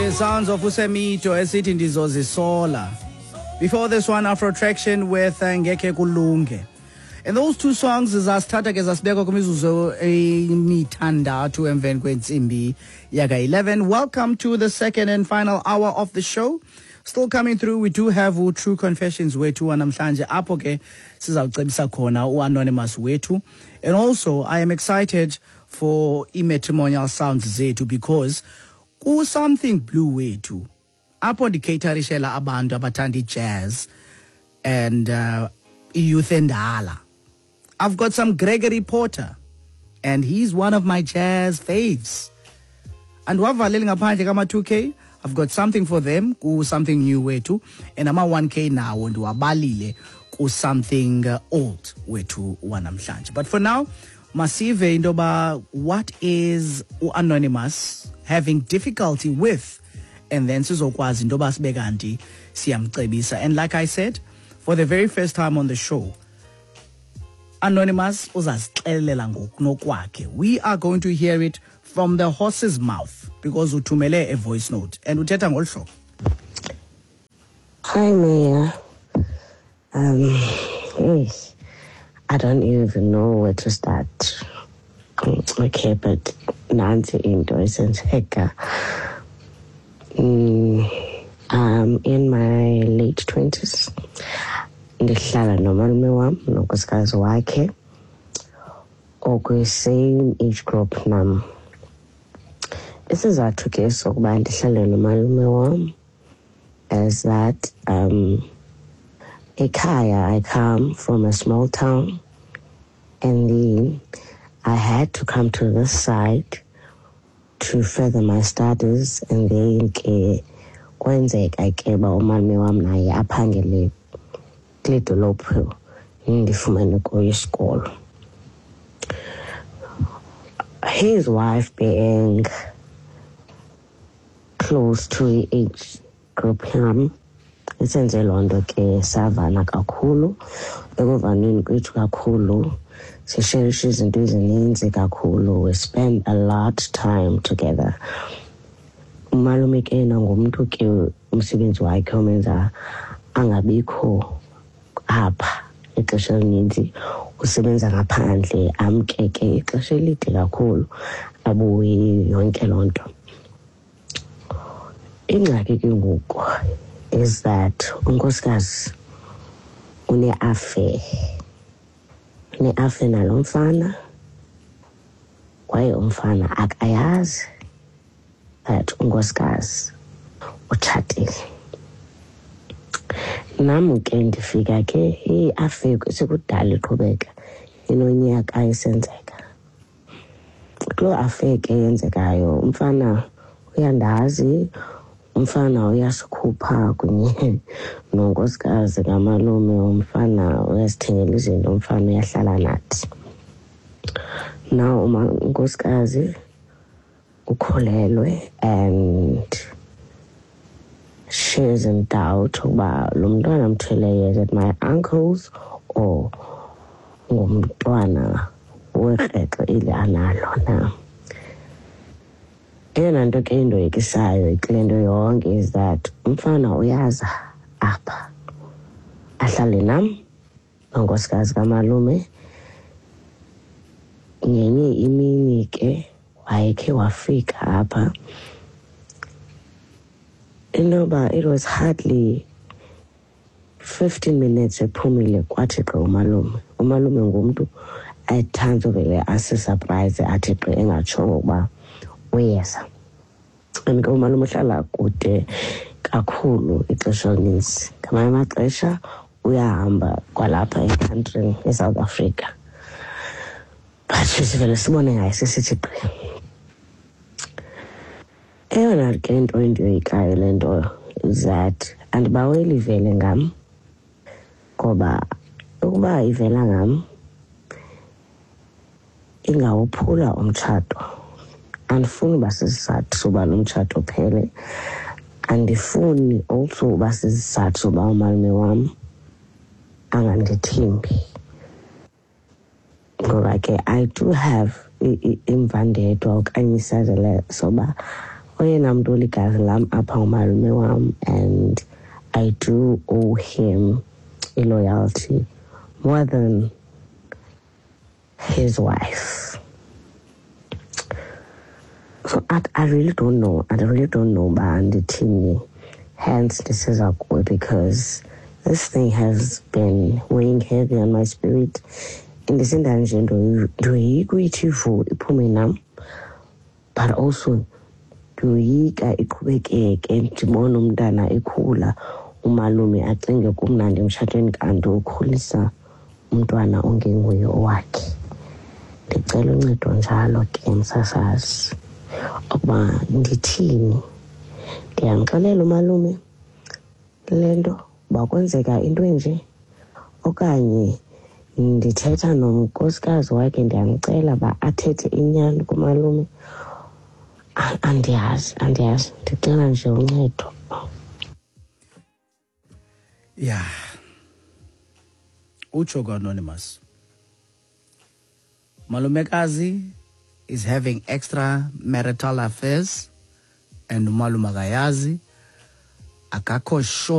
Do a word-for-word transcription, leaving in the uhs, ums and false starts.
The sounds of uSemito esithi "Ndizozisola". Before this one, Afro Traction with uh, "Ngeke Kulunge". And those two songs zasithatha ke zasibeka kwimizuzu emithandathu emveni kwentsimbi yaka eleven. Welcome to the second and final hour of the show. Still coming through, we do have u True Confessions wethu wanamhlanje, apho ke sizawucebisa khona u-Anonymous wethu. And also I am excited for i-matrimonial sounds zethu, because ku-Something Blue wethu, apho ndicaterishela abantu abathanda i-jazz and uh, i-youth endala, I've got some Gregory Porter, and he's one of my jazz faves. Andiwavaleli ngaphandle kama-two K. I've got something for them ku-Something New wethu, and ama-one K nawo ndiwabalile ku-Something uh, Old wethu wanamhlanje. But for now, masive into yoba what is u-Anonymous having difficulty with, and then sizokwazi into yoba sibe kanti siyamcebisa. And like I said, for the very first time on the show, Anonymous uzasixelela ngokunokwakhe. We are going to hear it from the horse's mouth, because uthumele a voice note and uthetha ngolu hlobo. Hi, Mia. Um, hey, I don't even know where to start. Mm, Okay, but nansi into esenzeka. Mm, I'm in my late twenties. Ndihlala nomalume wam nonkosikazi wakhe okwi-same age group nam. Isizathu ke sokuba ndihlale nomalume wam is that um ekhaya I come from a small town, and then I had to come to this side to further my studies, and then ke kwenzeka ke uba umalume wam naye aphangele kule dolophu ndifumene kuyo isikolo. His wife being close to i-age group yam, isenze loo nto ke savana kakhulu. Ekuvaneni kwethu kakhulu, sisherisha izinto ezininzi kakhulu. We spend a lot time together. Umalume ke yena ngumntu ke umsebenzi wakhe omenza angabikho apha ixesha elininzi. Usebenza ngaphandle, amke ke ixesha elide kakhulu, abuye, yonke loo nto. Ingxaki ke ngoku is that unkosikazi une-affair une-affair nalo mfana, kwaye umfana akayazi that unkosikazi utshatile. Nam ke ndifika ke i-affair sekudala iqhubeka, inonyaka isenzeka. Kuloo affair ke yenzekayo, umfana uyandazi, umfana uyasikhupha kunye nonkosikazi kamalume, umfana uyasithengela izinto, umfana uyahlala nathi. Now unkosikazi ukhulelwe and she is in doubt ukuba lo mntwana amthweleyo, is it my uncle's or ngumntwana wekrexe eli analo na. Eyona nto ke indoyikisayo kule nto yonke is that umfana uyaza apha ahlale nam nonkosikazi kamalume. Ngenye imini ke wayekhe wafika apha, inoba it was hardly fifteen minutes ephumile, kwathi gqi umalume. Umalume ngumntu ethanda uvele asisurprise, athi gqi engatshongo ukuba uyeza. And ke umalume uhlala kude kakhulu ixesha elininzi. Ngamanye amaxesha uyahamba kwalapha ekhantrini eSouth Africa, but sivele sibone ngaye sesithi gqi. Eyona ke nto endiyoyikayo le nto is that andibaweli ivele ngam, ngoba ukuba ivela ngam ingawuphula umtshato. Andifuni uba sisizathu soba lo mtshato uphele. Andifuni also uba sisizathu soba umalume wam angandithembi, ngoba ke I do have imvandedwa okanye isazela soba Oyena mntu oligazi lam apha ngumalume wam, and I do owe him i-loyalty more than his wife. So I, I really don't know. I really don't know uba ndithini. Hence ndisiza kuwe, because this thing has been weighing heavy on my spirit. Ndisinda nje ndoyika uyithi vu iphume nam, but also ndoyika iqhubekeke, ndibone umntana ekhula, umalume acinge kumnandi emtshatweni kanti ukhulisa umntwana ongenguye owakhe. Ndicela uncedo njalo ke, msasazi, ukuba ndithini. Ndiyamxelela umalume le nto uba kwenzeka into enje, okanye ndithetha nonkosikazi wakhe, ndiyamcela uba athethe inyani kumalume? Andiyazi, andiyazi. Ndicela nje uncedo. Yeah, utsho ku-anonymous, malumekazi is having extra marital affairs and umalume akayazi, akakho sure.